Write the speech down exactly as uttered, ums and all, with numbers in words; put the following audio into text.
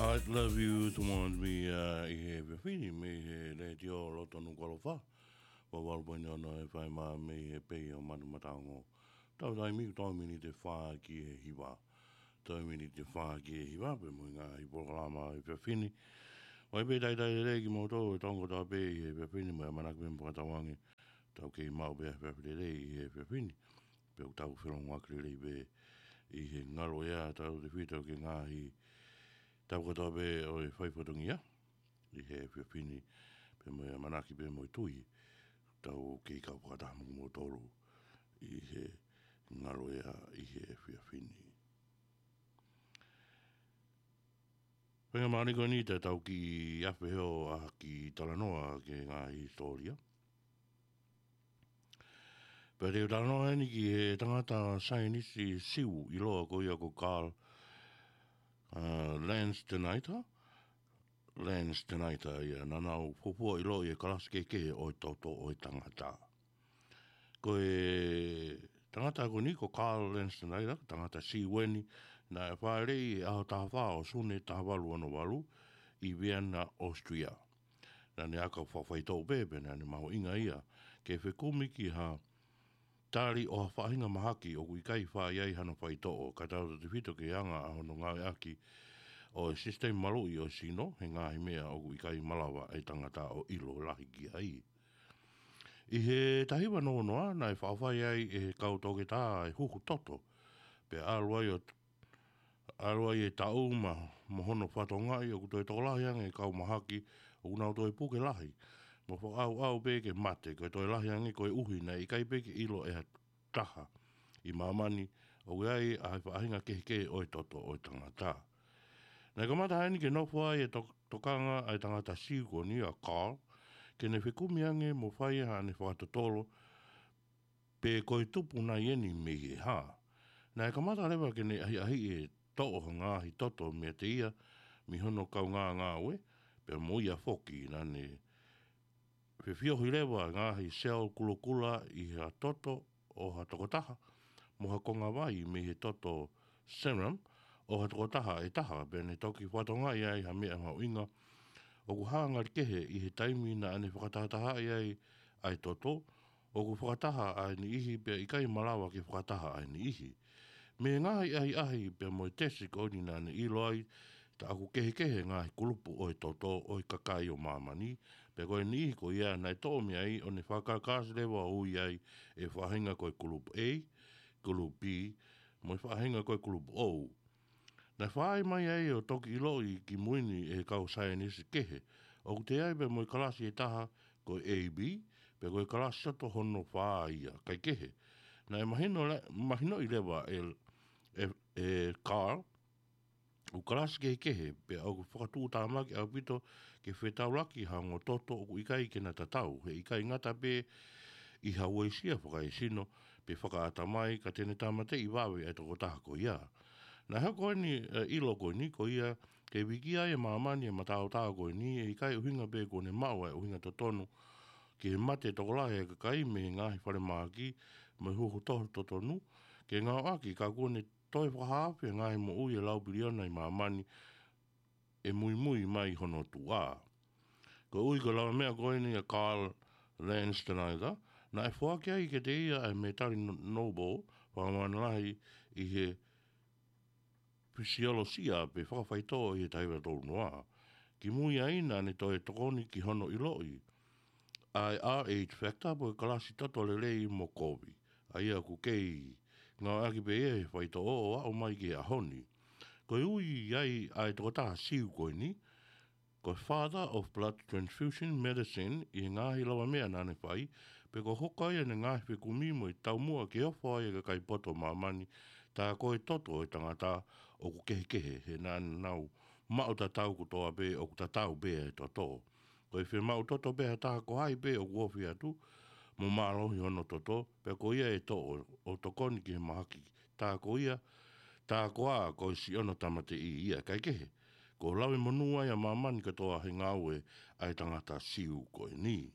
I'd love you to want me, uh, ʻi he efiafi ni mei he letiō loto Nukuʻalofa. Ua valu poini ono F M mei he pei ʻo Manu Mataongo. Tau taimi ko e miniti ʻe fā ki he hiva. Tau miniti ʻe fā ki he hiva, pea mo e ngaahi polokalama ʻo e efiafi ni. ʻOku pē talitali lelei kimoutolu ʻe Tonga kotoa pē ʻi he efiafi ni mo e ʻamanaki pē mo fakatauange. Tau kei maʻu pē ʻa e efiafi lelei ʻi he efiafi ni. Pea ʻoku tau felongoaki lelei pē ʻi he ngalo ʻea, tautautefito ki he ngaahi tau kotoa pē ʻo e fai fatongia ʻi he efiafi ni, pea mo e ʻamanaki pea mo e tui. Tau kei kau fakataha mo kimoutolu ʻi he ngalo ʻea ʻi he efiafi ni. Pea ʻi he māhina ko eni te tau kiʻi afe hifo ʻa e kiʻi talanoa ki he ngaahi hisitōlia. Pea te u talanoa eni ki he tangata saienisi Siu ʻiloa ko ia ko Carl, uh, Landsteiner. Landsteiner ia, naʻa nau fuofua ʻiloʻi e kalasi kehekehe ʻo e toto ʻo e tangata. Ko e tangata ko eni ko Carl Landsteiner, tangata Siu eni, naʻe fāʻeleʻi he ʻaho taha fā ʻo Sune taha valu ono valu ʻi Vienna, Austria. Naʻa ne aka fakafaitoʻo pē, pea naʻa ne mahuʻinga ia ke fekumi ki ha tali ʻo ha faʻahinga mahaki ʻoku ʻikai fai ai hano faitoʻo, kae tautautefito ki he anga ʻa hono ngāueʻaki ʻo e sisitemi maluʻi ʻo e sino, he ngaahi meʻa ʻoku ʻikai malava e tangata ʻo ʻilo lahi ki ai. ʻI he taha hiva noa noa, naʻe faʻa fai ai ʻe he kau toketā e huhu toto, pea ʻalu ai ʻo ʻalu ai e taʻu ma, mo hono fatongaʻi ʻoku toe tokolahi ange e kau mahaki ʻoku nau toe puke lahi. Mo fakaʻauʻau pē ke mate, ko e toe lahi ange koeʻuhi naʻe ʻikai pē ke ʻilo ʻe ha taha ʻi māmani ʻoku ʻi ai ʻa e faʻahinga kehekehe ʻo e toto ʻo e tangata. Naʻe kamata heni ke nofo ai e to-, tokanga ʻa e tangata Siu ko eni ʻa Carl, ke ne fekumi ange mo fai haʻane fakatotolo, pe ko e tupu nai eni mei he hā. Naʻe kamata leva ke ne ʻahiʻahiʻi e toʻo ha ngaahi toto meiate ia mei hono kaungāngāue, pea mo ia foki naʻa ne fefiohi leva ngaahi seli kulokula ʻi ha toto ʻo ha tokotaha, mo ha konga vai mei he toto serum ʻo ha tokotaha ʻe taha, pea ne toki fatongaʻi ai ha meʻa mahuʻinga ʻoku hā ngali kehe ʻi he taimi naʻa ne fakatahatahaʻi ai ʻa e toto, ʻoku fakataha ʻa e niʻihi pea ʻikai malava ke fakataha ʻa e niʻihi. Mei he ngaahi ʻahiʻahi pea mo e tesi ko eni naʻa ne ʻilo ai, tā ʻoku kehekehe ngaahi kulupu ʻo e toto ʻo e kakai ʻo māmani, pea ko e niʻihi ko ia naʻe toʻo mei ai ʻo ne fakakasi leva ʻo ui ai e faʻahinga ko e kulupu A, kulupu B, mo e faʻahinga ko e kulupu O. Naʻe fai mai ai ʻo toki ʻiloʻi ki mui ni ʻe he kau saienisi kehe. ʻOku toe ʻi ai pē mo e kalasi ʻe taha ko e A B, pea ko e kalasi toto hono fā ia, kae kehe. Naʻe mahino le-, mahinoʻi leva ʻe, ʻe, ʻe Carl, ʻoku kalasi kehekehe, pea ʻoku fakatuʻutāmaki ʻaupito ke fetaulaki ha ongo toto ʻoku ʻikai ke na tatau, he ʻikai ngata pē ʻi ha uesia fakaesino, pe fakaʻatamai, ka te ne tāmateʻi vave ʻa e tokotaha ko ia. Naʻe hoko eni, ʻa e ʻilo ko eni ko ia, ke viki ai e māmani e mataotao ko eni, ʻe ʻikai ʻuhinga pē kuo ne maʻu ʻa e ʻuhinga totonu ki he mate tokolahi e kakai mei he ngaahi falemahaki mo e huhu toto totonu, ke ngāueʻaki ka kuo ne toe fakahaofi e ngaahi moʻui ʻe lau piliona ʻi māmani ʻe muimui mai hono tuʻa. Ko e ui ko e lavameʻa ko eni ʻa Carl Landsteiner, naʻe foaki ai kiate ia ʻa e mētali no-, Nobel, fakamāmani lahi ʻi he fisiolosia pe fakafaitoʻo ʻi he taha hiva tolu noa. Ki mui ai naʻa ne toe tokoni ki hono ʻiloʻi ʻa e R H factor pe ko e kalasi toto lelei mo kovi. ʻA ia ʻoku kei ngāueʻaki pē ia he faitoʻo ʻo aʻu mai ki he ʻaho ni. Ko e ui ai ʻa e tokotaha Siu ko eni, ko e Father of Blood Transfusion Medicine ʻi he ngaahi lavameʻa naʻa ne fai, pea ko e hoko ia ʻene ngaahi fekumi mo e taumuʻa ke ofo ai e kakai poto ʻo māmani, tā ko e toto ʻo e tangata ʻoku kehekehe, he naʻa nau maʻu tatau kotoa pē, ʻoku tatau pē e toto. Ko e fiemaʻu toto pē ha taha ko hai pē ʻoku ofi atu, mo mālohi hono toto, pea ko ia ʻe toʻo ʻo tokoni ki he mahaki, tā ko ia, tā ko ā ko e siʻono tāmateʻi ia, kae kehe. Ko e lave monū ai ʻa māmani kotoa he ngāue ʻa e tangata Siu ko eni.